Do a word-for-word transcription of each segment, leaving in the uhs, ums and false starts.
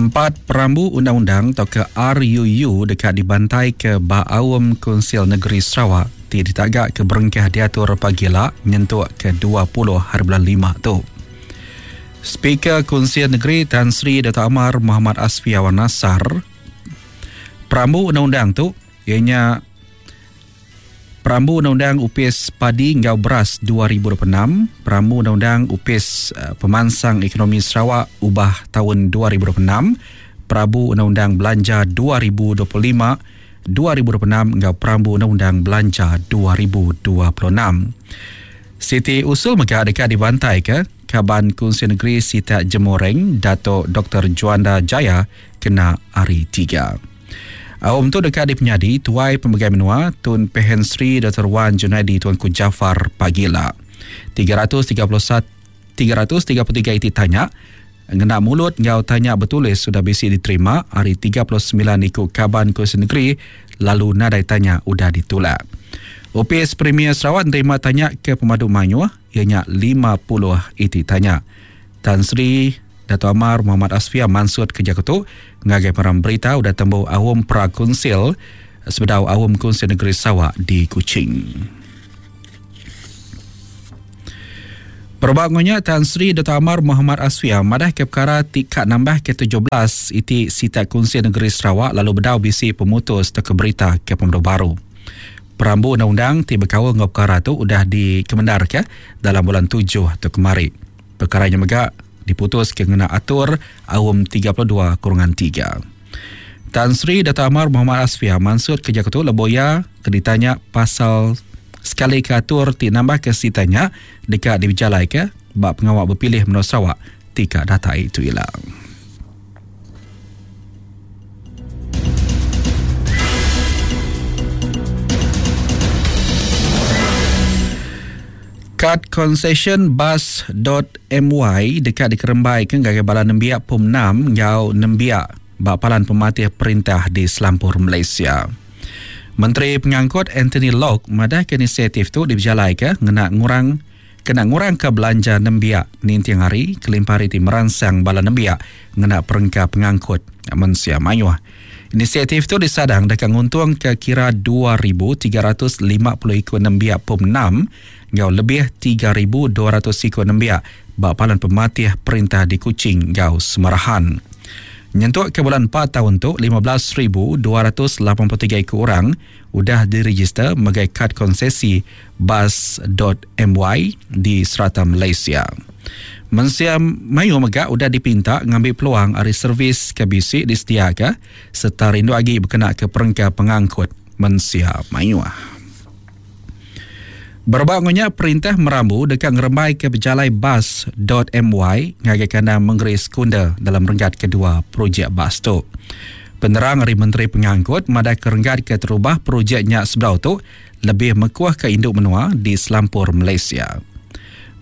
Empat perambu undang-undang atau ke R U U dekat dibantai ke Baaum Kunsil Negeri Sarawak ti ditagak ke berengkah diatur pagila nyentuk ke dua puluh hari bulan lima tu. Speaker Kunsil Negeri Tan Sri Dato' Amar Muhammad Asfia Wan Nasar, perambu undang-undang tu ianya Perambu Undang-Undang Upis Padi Enggau Beras dua ribu dua puluh enam, Perambu Undang-Undang Upis Pemansang Ekonomi Sarawak Ubah Tahun dua ribu dua puluh enam, Perambu Undang-Undang Belanja dua ribu dua puluh lima dua ribu dua puluh enam enggau Perambu Undang-Undang Belanja dua ribu dua puluh enam. Siti usul mega dekat dibantai ke Kaban Kunsil Negeri Sitak Jemoreng Dato' Doktor Juanda Jaya kena hari tiga. Awam tu dekat di penyadi Tuai Pemegai Menua Tun Pehin Sri Doktor Wan Junaidi Tuanku Jaafar Pagila. tiga ratus tiga puluh satu, tiga ratus tiga puluh tiga iti tanya ngena mulut ngau tanya bertulis sudah bisi diterima hari tiga puluh sembilan ikut Kaban Kunsil Negeri lalu nadai tanya udah ditolak. Opis Premier Sarawak nerima tanya ke pemadu mayuh ianya lima puluh iti tanya. Tan Sri Dato' Amar Muhammad Asfia mansut kerja ketu ngagai peram berita udah tembu awam pra-kunsil sebedau awam Kunsil Negeri Sarawak di Kuching. Perbangunnya Tan Sri Dato' Amar Muhammad Asfia madah ke perkara tikat nambah ke tujuh belas iti sitak Kunsil Negeri Sarawak lalu bedau bisi pemutus teka berita ke pemadu baru. Perambu undang-undang ti berkawal ngau perkara tu udah dikemendar ke dalam bulan tujuh tu kemari. Perkara nya mega diputus ke ngena atur awam tiga puluh dua kurungan tiga. Tan Sri Dato' Amar Muhammad Asfia mansut kerja ketu leboya ke ditanya pasal sekali ke atur ti nambah ke sitanya dekat diberjalai ke bak pengawak berpilih menua Sarawak tika data itu hilang. Kad concession bus dot my dekat dikerembai ke gagai bala nembiak P U M enam ngau nembiak bak palan pematih perintah di Selampur Malaysia. Menteri Pengangkut Anthony Loke madah ke inisiatif tu diberjalai ke ngena ngurang kena ngurang ke belanja nembiak ninting hari kelimpah hari ti merangsang bala nembiak ngena perengka pengangkut mensia mayuh. Inisiatif tu disadang dekat nguntung ke kira dua ribu tiga ratus lima puluh ikut nembiak P U M enam ngau lebih tiga ribu dua ratus ikut nembiak bak palan pematih perintah di Kuching ngau Semarahan. Nyentuk ke bulan empat tahun tu lima belas ribu dua ratus lapan puluh tiga ikut orang udah diregister megai kad konsesi bus dot my di serata Malaysia. Mensia mayu mega udah dipinta ngambil peluang ari servis ke bisi disediaka serta rindu agi berkena ke perengka pengangkut mensia mayu. Berbak ngonya perintah merambu dekat ngerembai ke berjalai bus dot my ngagai kandang Mengeri Sekunder dalam renggat kedua projek bus tu. Penerang dari Menteri Pengangkut madah ke renggat ke terubah projeknya sebelah tu lebih mekuah ke induk menua di Selampur Malaysia.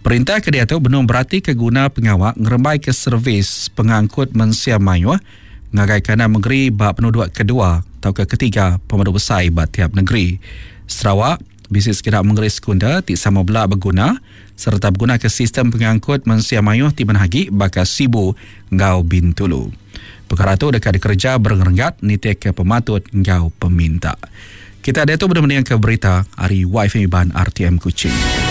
Perintah ke dia tu benung berarti ke guna pengawak ngerembai ke servis pengangkut mensia mayuh ngagai kandang Mengeri bak penduduk kedua atau ke ketiga pemadu besar bak tiap negeri. Sarawak bisik sekitar Mengeri Sekunder ti sama bela berguna serta berguna ke sistem pengangkut mensia mayuh ti menhagi bakal Sibu ngau Bintulu. Perkara tu dekat dikerja berenggat nitik ke pematut ngau peminta. Kita ada tu benda-benda ke berita hari Y F M Iban R T M Kuching.